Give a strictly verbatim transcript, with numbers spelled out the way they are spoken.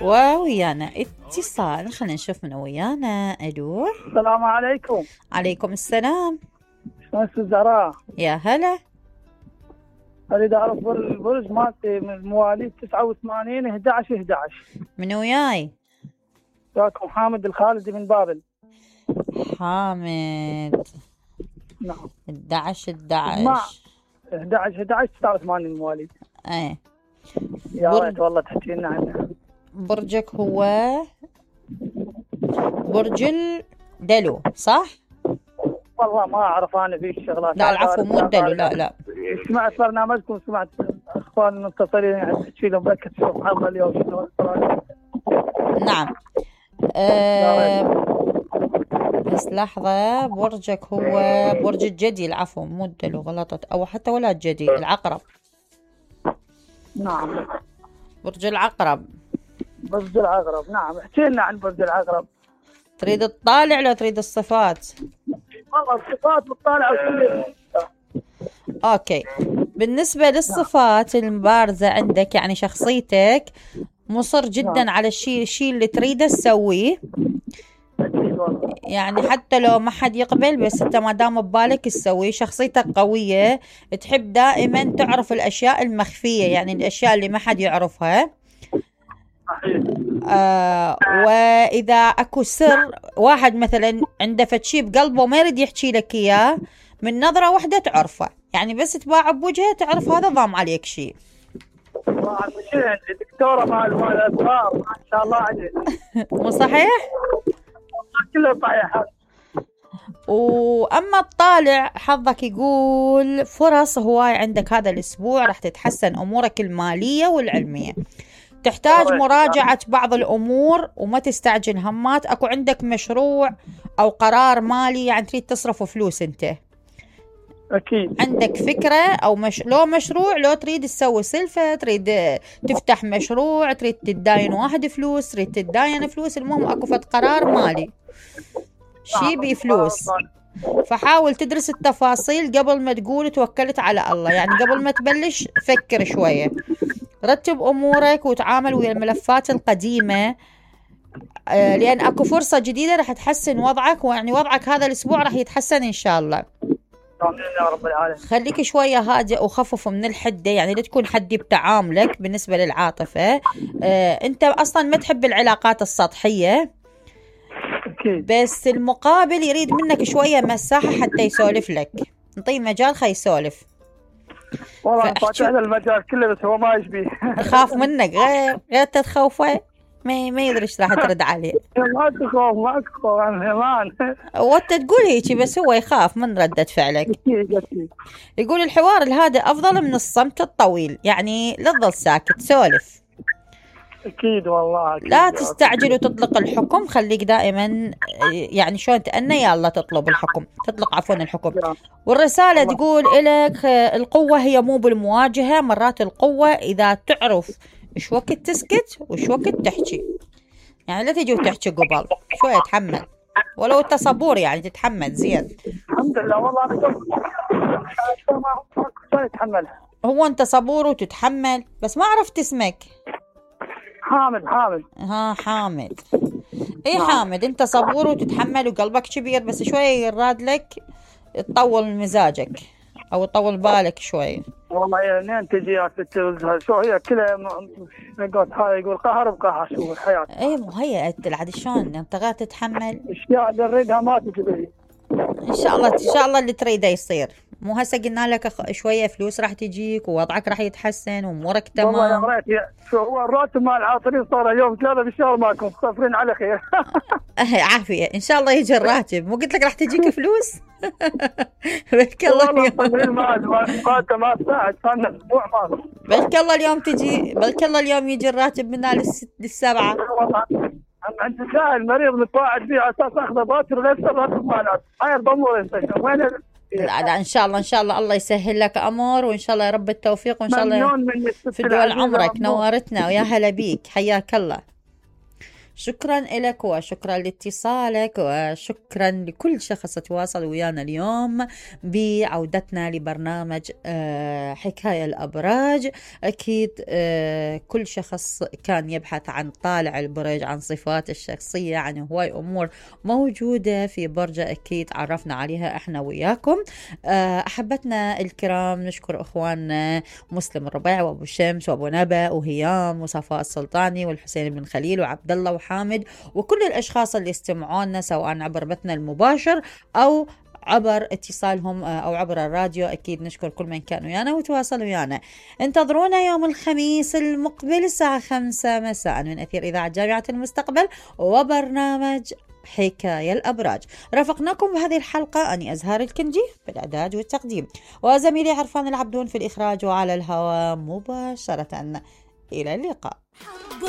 وويانا اتصال، خلينا نشوف من ويانا. الو، السلام عليكم. عليكم السلام. شلونك زهراء؟ يا هلا. اريد اعرف البرج مالتي من مواليد تسعة وثمانين احد عشر احد عشر. من وياي؟ وياكم حامد الخالدي من بابل. حامد. نعم. احد عشر احد عشر مع احد عشر احد عشر تسعة وثمانين مواليد. ايه. يا برج... ريت والله تحكي لنا عنه. برجك هو برج الدلو صح؟ والله ما اعرف انا في الشغلات. لا العفو مو الدلو، لا لا. سمعت برنامجكم، سمعت اخوان المتصلين يعني تحكي لهم بركة تشوف حلقة اليوم. نعم. أه... بس لحظة، برجك هو برج الجدي، العفو مو الدلو، غلطت، او حتى ولا الجدي، العقرب. نعم. برج العقرب. برج العقرب، نعم. احكي لنا عن برج العقرب. تريد تطالع ولا تريد الصفات؟ والله الصفات بتطالع وكل. اوكي. بالنسبة للصفات المبارزة عندك، يعني شخصيتك مصر جدا نعم. على الشيء الشيء اللي تريده تسويه. يعني حتى لو ما حد يقبل، بس انت ما دام ببالك تسويه. شخصيتك قوية، تحب دائما تعرف الاشياء المخفية، يعني الاشياء اللي ما حد يعرفها. آه واذا اكو سر واحد مثلا عنده فتشي بقلبه ما يريد يحكي لك اياه، من نظرة واحدة تعرفه، يعني بس تباع بوجهه تعرف هذا ضام عليك شيء. دكتورة مال مال الأسرار ما شاء الله عليك. مو صحيح؟ كله صحيح. واما الطالع حظك يقول فرص هواي عندك هذا الاسبوع، راح تتحسن امورك المالية والعلمية. تحتاج مراجعة بعض الامور وما تستعجل همات. اكو عندك مشروع او قرار مالي، يعني تريد تصرف فلوس انت. أكيد. عندك فكرة أو مش... لو مشروع، لو تريد تسوي سلفة، تريد تفتح مشروع، تريد تداين واحد فلوس، تريد تداين فلوس، المهم أكو فد قرار مالي شي بفلوس. فحاول تدرس التفاصيل قبل ما تقول توكلت على الله، يعني قبل ما تبلش فكر شوية، رتب أمورك وتعامل ويا الملفات القديمة، لأن أكو فرصة جديدة رح تحسن وضعك، ويعني وضعك هذا الأسبوع رح يتحسن إن شاء الله. يا رب العالمين. خليك شوية هادئ وخفف من الحدة، يعني لا تكون حدي بتعاملك بالنسبة للعاطفة. آه، انت اصلا ما تحب العلاقات السطحية. أكيد. بس المقابل يريد منك شوية مساحة حتى يسولف لك، انطيه مجال خي يسولف. والله فاتح له المجال كله بس هو ما يشبيه. يخاف منك، غير غير تتخوفه ما ما يدري ايش راح ترد عليه. ما تخاف ما تخاف عن همان. وانت تقول هيك بس هو يخاف من ردة فعلك. يقول الحوار الهادئ افضل من الصمت الطويل، يعني لا تظل ساكت، سولف. اكيد والله. أكيد. لا تستعجل وتطلق الحكم، خليك دائما يعني شلون تأنى يلا تطلب الحكم، تطلق عفوا الحكم. والرسالة الله. تقول لك القوة هي مو بالمواجهة، مرات القوة اذا تعرف ايش وقت تسكت وايش وقت تحكي، يعني لا تجي وتحكي قبل شوية، تحمل ولو انت صبور، يعني تتحمل زين. الحمد لله والله انا اتحملها. هو انت صبور وتتحمل، بس ما عرفت اسمك. حامد. حامد. ها حامد. اي حامد، انت صبور وتتحمل وقلبك كبير، بس شوية يراد لك تطول مزاجك او تطول بالك شوية. والله يعني تجي يا ست شو هي كلها يقول هاي يقول قهر بقهر شو الحياة. اي مو هي عاد شلون انت غير تتحمل اشياء اللي نريدها ما تجي لي. ان شاء الله ان شاء الله اللي تريده يصير. مو هسه قلنا لك شويه فلوس راح تجيك ووضعك راح يتحسن وامورك تمام. والله يا ريت شو هو الراتب مال العاطلين صار يوم ثلاثه بالشهر ماكم صافرين على خير. عافيه ان شاء الله يجي الراتب. مو قلت لك راح تجيك فلوس؟ بلك الله والله صافرين ما ما ما تساعد صار اسبوع ما. بلك الله اليوم تجي، بلك الله اليوم يجي الراتب من للست للسبعه. عند سائل مريض متواعد فيه على اساس اخذه باكر غير الراتب ماله خير ضمور انت وين. لا لا ان شاء الله ان شاء الله الله يسهل لك امور، وان شاء الله يا رب التوفيق، وان شاء الله في دول عمرك. نورتنا ويا هلا بيك، حياك الله. شكرا لك وشكرا لاتصالك وشكرا لكل شخص تواصل ويانا اليوم بعودتنا لبرنامج حكاية الأبراج. أكيد كل شخص كان يبحث عن طالع البرج، عن صفات الشخصية، عن هواي أمور موجودة في برجة أكيد عرفنا عليها إحنا وياكم. أحبتنا الكرام نشكر أخواننا مسلم الربيع وأبو شمس وأبو نبأ وهيام وصفاء السلطاني والحسين بن خليل وعبد الله وحامد وكل الأشخاص اللي استمعونا سواء عبر بثنا المباشر أو عبر اتصالهم أو عبر الراديو. أكيد نشكر كل من كانوا ويانا وتواصلوا ويانا. انتظرونا يوم الخميس المقبل الساعة خمسة مساء من أثير إذاعة جامعة المستقبل وبرنامج حكاية الأبراج. رافقناكم بهذه الحلقة أني أزهار الكنجي بالإعداد والتقديم وزميلي عرفان العبدون في الإخراج وعلى الهواء مباشرة. إلى اللقاء.